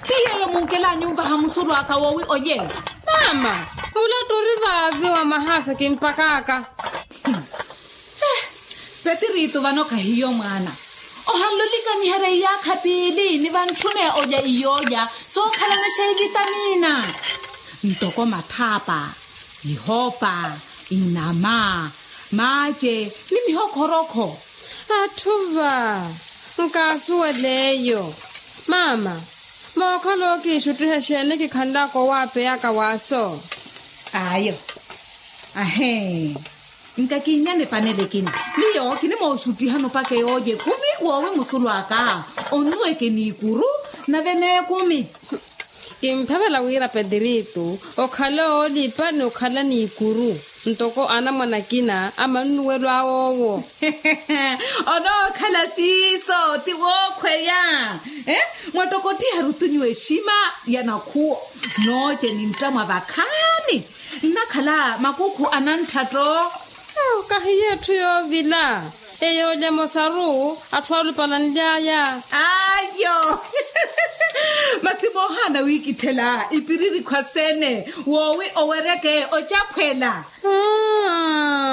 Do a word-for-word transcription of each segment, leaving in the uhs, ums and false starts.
Ti yeeyo munkelanyu onvaha musulu aka woowi olye? Mama, mulatta ori vaavi wa mahasa kimpakaka. Petiritu vano khahiyo mwaana. Ohanlolika nihereyi yaakha piili ni vantthune olya iyolya sookhalana xeevitamina, ntoko mathaapa, ihopa, inama, maace, ni mihokholokho. Atthu va nkaasuwela eyo. Mama, mookhala okiixuttiha exeeni kikhanlaka owaapeyaka waaso? Ayo. Ahee. Nkakinnyana epanela ekina. Miyo kinimooxuttihani opaka eyoolya ekumi woowi musulu aka onnuweke n'ikuru nave n'ekumi. Kimphavela wira petiritu okhala oolipa ni okhala n'ikuru ntoko anamwane akina amannuwelo awoowo. Onookhala siiso ti wookhweya. Mwattokottiha rutunyu exima ya nakhuwo nooce nintta mwa vakhaani. Nnakhala makukhu anantthatto. Kahiyo etthu yoovila. Eyoolya emosaru atthu alupala nly'aya. Ayo. Masi moohaana wiikitthela ipiriri khwasene woowi owereke ocaphwela.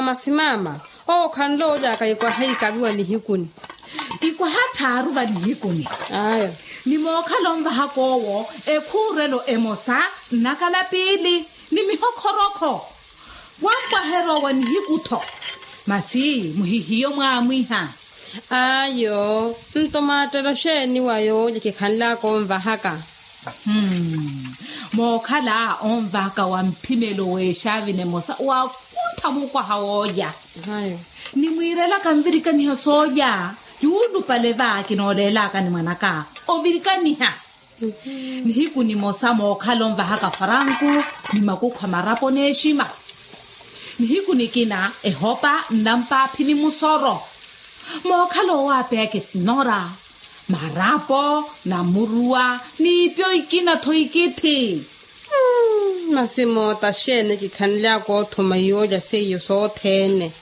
Masi mama, owo khanloolya aka ikwaha ikaviwa nihikuni. Ikwaha tthaaru vanihikuni. Ayo. Ni mookhala onvahaka owo ekhuurelo emosa nnakala piili ni mihokhorokho. Wampwaherya owa nihiku-tho. Masi muhihiyo mwaamwiha. Ayo. Nto maattelo xeeni wa yoolya kikhanlaka onvahaka? Mookhala onvahaka wa mphimelo w'exaavini emosa waakuntha mukwaha woolya. Nimwiirelaka nvirikaniha soolya. Yuulupale va kinooleelaka ni mwanaka ovirikaniha. Nihiku nimosa mookhala onvahaka faranku ni makukhu a marapo n'exima. Nihiku nikina ehopa nnampaaphi ni musoro. Mookhala owaapeyaka esinora, marapo, namuruwa n'ipyo ikina-tho ikithi. Masi moota xeeni kikhanlyaka othuma iyoolya seiyo sothene?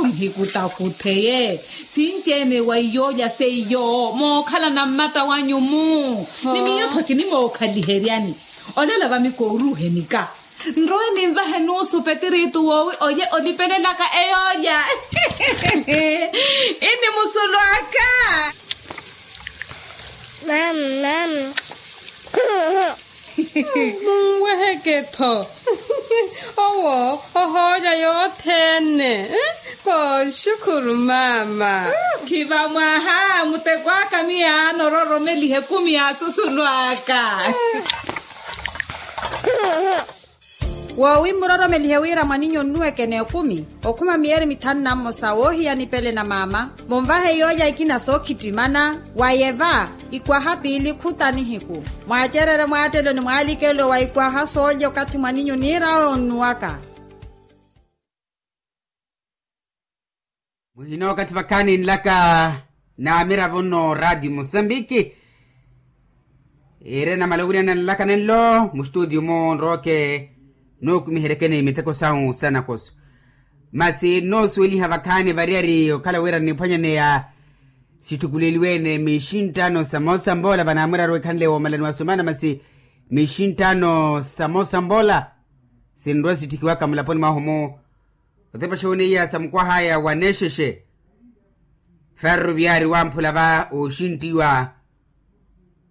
Muhikutakutheye. Sinci-ene wa iyoolya seiyo mookhalana mmata wanyu-mu. Ni miyo-tho kinimookhaliheryani. Olela vami kooruuhenika. Nrowe ninvahe nuusu petiritu woowi olye olipelelaka eyoolya. Ini musulu aka. Mama, mama. Munweheke-tho. Owo ohoolya yothene. Kooxukhuru mama. Khiva mwaha muteko aka miyaano ororomeliha ekumi ya susulu aka. Woowi muroromelihe wira mwaninyu onnuweke n'ekumi okhuma miyeri mithanu na mmosa woohiya nipele na mama. Munvahe yoolya ikina sookhittimana wa yeva ikwaha piili khuta nihiku. Mwaacererye mwaattelo ni mwaalikelo wa ikwaha soolya okathi mwaninyu niir'awe onnuwaka. Muhina okathi vakhaani nlaka n'amiravo nno radio musambiki. Iire namala owiriyana nlaka nenlo mustutio-mu nrooke nuukumiheryekeni miteko sahu sanakoso. Masi nnoosuweliha vakhaani variyari okhala wira nniphwanyaneya. Sitthukuleliwe-ene mixinttano samosa mboola vanaamurari wekhanle woomalani wasumana masi mixinttano samosa mboola. Sinrwa sitthikiwaka mulaponi mwahu-mu. Otepa xoweniya sa mukwahaya wa nexexe. Ferroviari wamphula va oxintiwa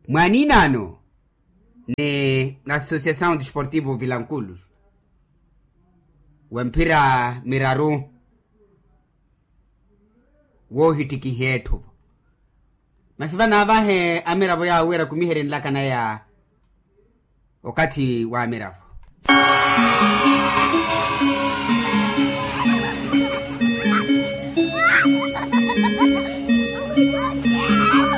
mwaninano ni associação desportivo vilanculos wa mphira miraru. Woohittikiha etthu-vo masi vanaavahe amiravo yaawo wira kumiherye nlaka naya. Okathi wa amiravo.